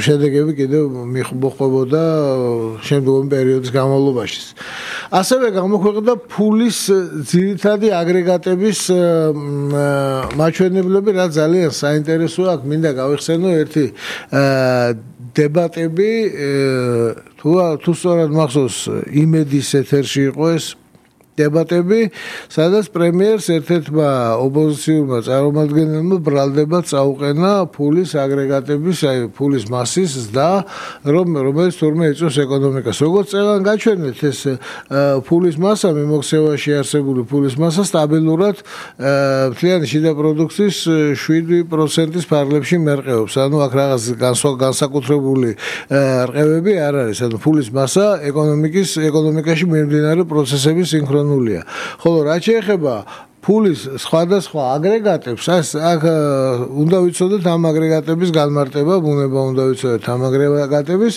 შედეგები კიდევ მოხდებოდა შემდგომი პერიოდის განმავლობაში. ასევე გამოქვეყნდა ფულის ძირითადი აგრეგატების მაჩვენებლები, რაც ძალიან საინტერესოა. აქ მინდა გავიხსენო ერთი დებატები, თუ სწორად მახსოვს, იმედის ეთერში იყო ეს დებატები, სადაც პრემიერს ერთ-ერთმა ოპოზიციურმა წარმომადგენელმა ბრალდება წაუყენა ფულის აგრეგატების, აი ფულის მასის ზრდა, რომელიც თურმე იწვევს ეკონომიკას. როგორც წელან გაჩვენეთ, ეს ფულის მასა, მიმოქცევაში არსებული ფულის მასა სტაბილურად მთლიანი შიდა პროდუქციის 7%-ის ფარგლებში მერყეობს. ანუ აქ რაღაც განსაკუთრებული რყევები არ არის. ანუ ფულის მასა ეკონომიკაში მიმდინარე პროცესების სინქრონიზაცია. ხოლო რაც შეეხება ფულის სხვადასხვა აგრეგატებს, აქ უნდა ვიცოდეთ ამ აგრეგატების განმარტება, ბუნება უნდა ვიცოდეთ ამ აგრეგატების.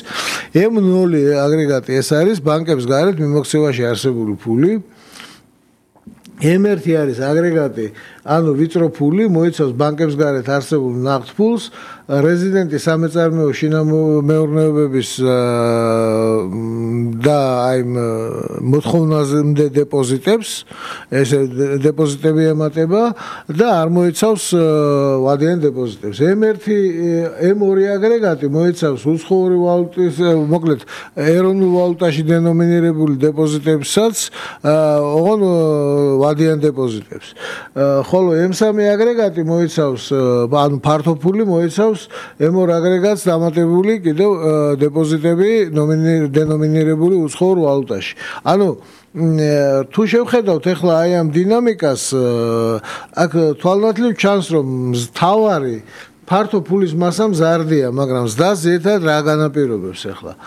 M0 აგრეგატი ეს არის ბანკების გარეთ მიმოქცევაში არსებული ფული. M1 არის აგრეგატი, ანუ ვიწრო ფული, მოიცავს ბანკების გარეთ არსებულ ნახტ ფულს, რეზიდენტი სამეწარმეო შინამეურნეობების და აი მოთხოვნაზე დეპოზიტებს, ეს დეპოზიტები ემატება და არ მოიცავს ვადიან დეპოზიტებს. M2 აგრეგატი მოიცავს უცხოური ვალუტის, მოკლედ ეროვნულ ვალუტაში დენომინირებული დეპოზიტებსაც, ოღონ ვადიან დეპოზიტებს. ხოლო M3 აგრეგატი მოიცავს, ანუ ფართო ფული მოიცავს M2 აგრეგატს დამატებული კიდევ დეპოზიტები დენომინირებული უცხოურ ვალუტაში. ანუ თუ შევხედავთ ახლა აი ამ დინამიკას, აქ თვალნათლივ ჩანს, რომ მთავარი ფართო ფულის მასა მზარდია, მაგრამ ზრდას ერთად რა განაპირობებს ახლა?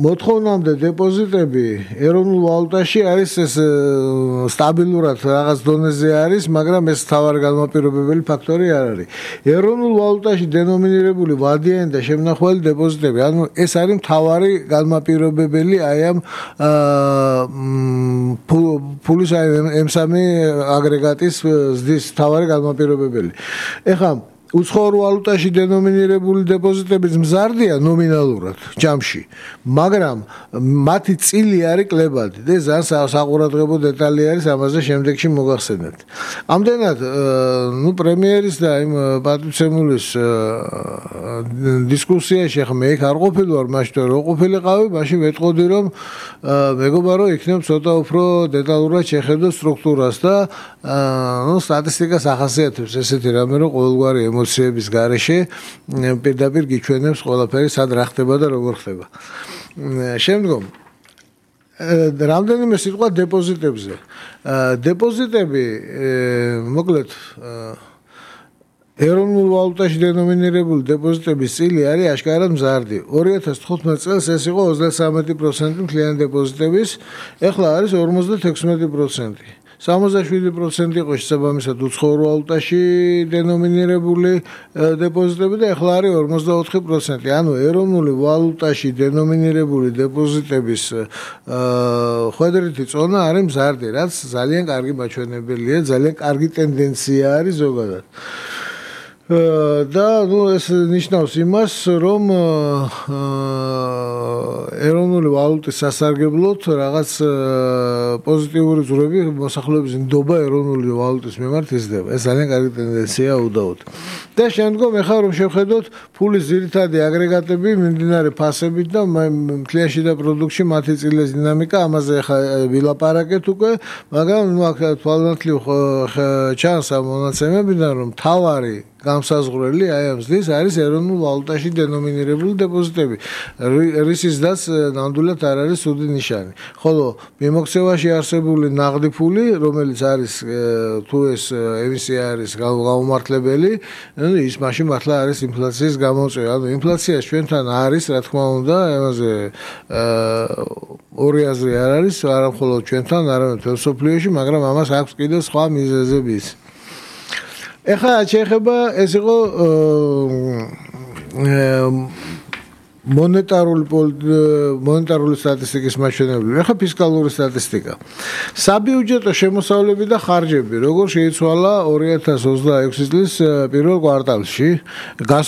მოთხოვნამდე დეპოზიტები ეროვნულ ვალუტაში არის ეს სტაბილურად რაღაც დონეზე არის, მაგრამ ეს მთავარი განმაპირობებელი ფაქტორი არ არის. ეროვნულ ვალუტაში დენომინირებული ვადიანი და შემნახველი დეპოზიტები, ანუ ეს არის მთავარი განმაპირობებელი აი ამ ფულის M3 აგრეგატის ზრდის მთავარი განმაპირობებელი. ეხლა უცხოურ ვალუტაში დენომინირებული დეპოზიტები მზარდია ნომინალურად ჯამში, მაგრამ მათი წილი არის კლებადი და ძალიან საყურადღებო დეტალი არის, ამაზე შემდეგში მოგახსენებთ. ამდენად, პრემიერის და იმ პატივცემულის დისკუსიაში ახლა მე იქ არ ყოფილვარ, მაშინ რო ყოფილიყავი, მაშინ ვეტყოდი, რომ მეგობარო იქნებ ცოტა უფრო დეტალურად შეხედო სტრუქტურას და სტატისტიკას ახასიათებს ესეთი რამე, რომ ყოველგვარი ემოციების გარეშე პირდაპირ გიჩვენებს ყველაფერი სად რა ხდება და როგორ ხდება. შემდგომ რამდენიმე სიტყვა დეპოზიტებზე. დეპოზიტები, მოკლედ ეროვნულ ვალუტაში დენომინირებული დეპოზიტების წილი არის აშკარად მზარდი. 2015 წელს ეს იყო 33% მთლიანი დეპოზიტების, ეხლა არის 56%. 67% იყო შესაბამისად უცხოურ ვალუტაში დენომინირებული დეპოზიტები და ეხლა არის 54%. ანუ ეროვნული ვალუტაში დენომინირებული დეპოზიტების ხვედრითი წონა არის მზარდი, რაც ძალიან კარგი მაჩვენებელია, ძალიან კარგი ტენდენცია არის ზოგადად. და ეს ნიშნავს იმას, რომ ეროვნული ვალუტის სასარგებლოდ რაღაც პოზიტიური ძვრები მოსახლეობის ნდობა ეროვნული ვალუტის მიმართ იზრდება. ეს ძალიან კარგი ტენდენციაა უდაოდ. და შემდგომ ახლა რომ შევხედოთ ფულის ძირითადი აგრეგატები მიმდინარე ფასებით და მთლიანში და პროდუქტში მათი წილის დინამიკა, ამაზე ახლა ვილაპარაკეთ უკვე, მაგრამ აქ თვალნათლივ ჩანს ამ მონაცემებიდან, რომ მთავარი გამსაზღვრელი აი ამ ზრდის არის ეროვნულ ვალუტაში დენომინირებული დეპოზიტები, რისის ზრდაც ნამდვილად არ არის ცუდი ნიშანი. ხოლო მიმოქცევაში არსებული ნაღდი ფული, რომელიც არის თუ ეს ემისია არის გაუმართლებელი, ის მაშინ მართლა არის ინფლაციის გამოწვევა. ანუ ინფლაცია ჩვენთან არის, რა თქმა უნდა, ამაზე ორი აზრი არ არის, არა მხოლოდ ჩვენთან, არამედ მთელ მსოფლიოში, მაგრამ ამას აქვს კიდევ სხვა მიზეზებიც. ეხლა შეეხება ეს იყო მონეტარული სტატისტიკის მაჩვენებლები. ეხლა ფისკალური სტატისტიკა. საბიუჯეტო შემოსავლები და ხარჯები, როგორ შეიცვალა 2026 წლის პირველ კვარტალში.